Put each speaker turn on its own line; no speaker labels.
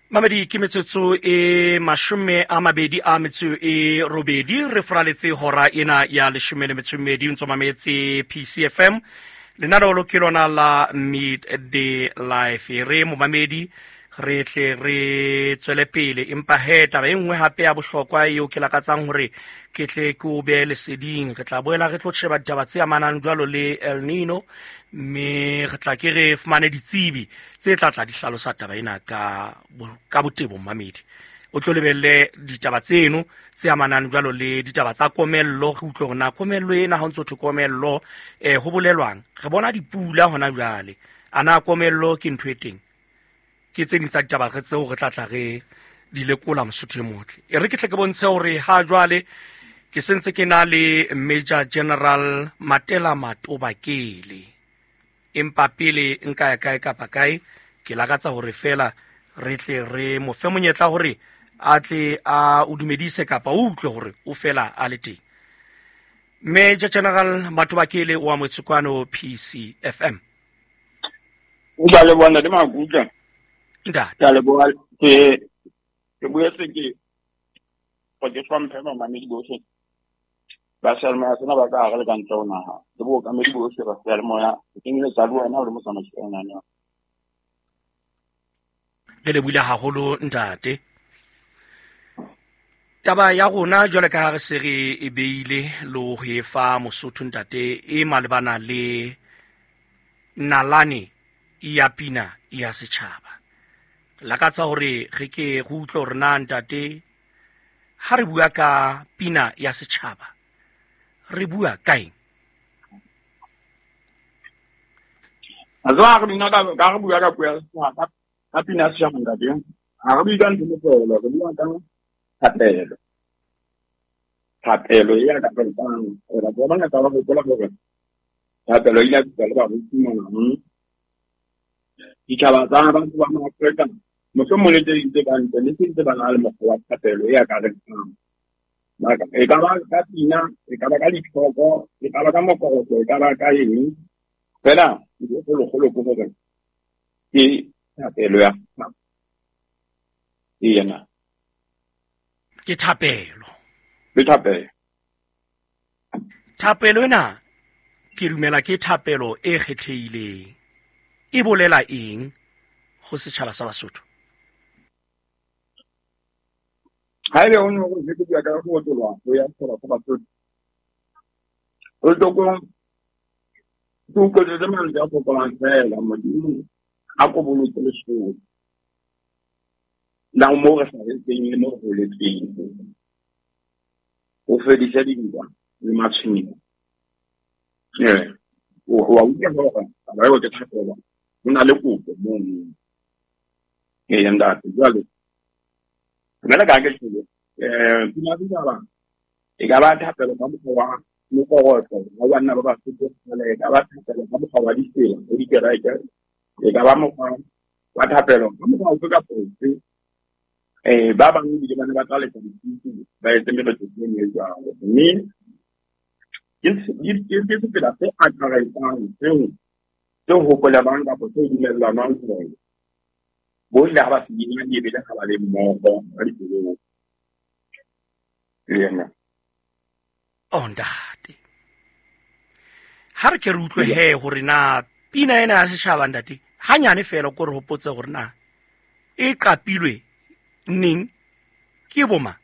Mamedi, ke metsotso e 28 re foraletse hora ena ya 12 ntso mametse PCFM. Lenaneo ke lona la Midday Life. Re momamedi re tle re tswele pele, empa he taba e nngwe hape ya bohlokwa eo ke lakatsang hore ke tle ke o behe leseding. Re tla boela re tlo sheba ditaba tse amanang jwalo le El Nino, mme re tla ke re fumane ditsebi tse tla tla di hlalosa taba ena ka botebo. Mmamedi o tlo lebelle ditaba tseno tse amanang jwalo le ditaba tsa komello, re utlwe hore na komello ena ha o ntso thwe komello ho bolelwang. Re bona dipula hona jwale, a na komello ke ntho e teng? Ke tse ding tsa ditaba re tseo re tla tla re di lekola. Mosotho e motle, e re ke tle ke bontshe hore ha jwale ke sentse ke na le Major General Matela Matobakele, empa pele nka ya kae kapa kae, ke lakatsa hore fela re tle re mo fe monyetla hore a tle a o dumedise kapa o utlwe hore o fela a le teng. Major General Matobakele o amohetse kwano PCFM.
O ba le bona le Makuka.
Ntate.
Ke a leboha, ke boetse ke go ke hlomphe bamamedi bohle ba seyalemoya sena ba ka hare le ka ntle ho naha, le bookamedi bohle ba seyalemoya, ho kenyeletsa le wena o le motsamaisi wa lenaneo.
Re lebohile haholo ntate. Taba ya rona jwale ka ha re se re e beile le ho e fa Mosotho ntate, e malebana le nalane ya pina ya setjhaba. Lakatsa hore re ke re utlwe hore na ntate, ha re bua ka pina ya setjhaba re bua ka eng?
A tseba re bina ka re bua ka puo ya setjhaba, ka pina ya setjhaba ntate, ha re bue ka ntho mohlolo, re bua ka thapelo. Thapelo e akaretsang batho ba bangata ba hopola hore thapelo e ile ya fihla le baruti mona. Ditjhaba tsa batho ba Maafrika mohlomong le tse ding tse ka ntle le sentse ba na le mokgwa wa thapelo e akaretsang. E ka ba ka pina, e ka ba ka ditlhoko, e ka ba ka mokorotlo, e ka ba ka eng fela, ntho e kgolokgolo ke hore ke thapelo ya setjhaba. Ena
ke thapelo.
Ke thapelo.
Thapelo ena ke dumela ke thapelo e kgethehileng. E bolela eng ho setjhaba sa Basotho?
Ha ebe o ne o ke bua ka go otolwa ho ya setjhaba sa Basotho, o tloko ke utlwetsetse mantswe a fokolang fela. Modimo a ko boloke Lesotho la mo re hlahetseng le mo re holetseng, o fedise dintwa le matshwenyeho. Ee, wa utlwa hore taba eo ke thapelo, ho na le kopo mono. Ee ntate, jwale jwale ka ke tjhele pina ya setjhaba e ka ba thapelo ka mokgwa wa mokorotlo wa banna ba Basotho kgale, e ka ba thapelo ka mokgwa wa ditsela ho dikereke, e ka ba mokgwa wa thapelo ka mokgwa ofe kapa ofe. Ba bang ebile ba ne ba tla letsa dikuku, ba etse meletlo e meng e jwalo, mme ke sefela se akaretsang seo se hopolelwang kapa se dumellanwang hore bohle ha ba se bina ebile ha ba le mmoho ka dipelong. Le yena.
Oh ntate, ha re ke re utlwe he hore na pina ena ya setjhaba ntate, hanyane fela ko re hopotse hore na e qapilwe neng, ke boma?